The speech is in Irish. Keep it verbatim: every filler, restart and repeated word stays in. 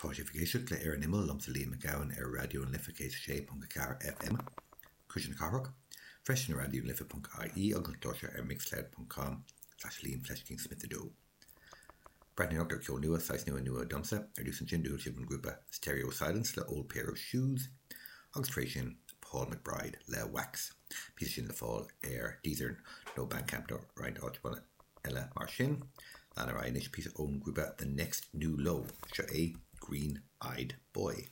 Tá sibh ag éisteacht le Ar an Imeall liomsa Liam Mac Gabhann ar Raidió na Life céad a sé ponc a ceathair FM, Cuisle na Cathrach, freisin ar raidió na life ponc ie agus an clár seo ar mixcloud ponc com slash Liam Fleiscín Smith a dó. Breathnóireacht ar ceol nua, saghas nua nua domsa, ar dtús ansin do chuala sibh an grúpa Stereo Silence le Old Pair of Shoes agus tar éis sin Paul McBride le Wax. Píosa sin le fáil ar Deezer nó Bandcamp nó roinnt áiteanna eile mar sin. Lean ar aghaidh anois píosa ón grúpa The Next New Low, seo é Green Eyed Boy.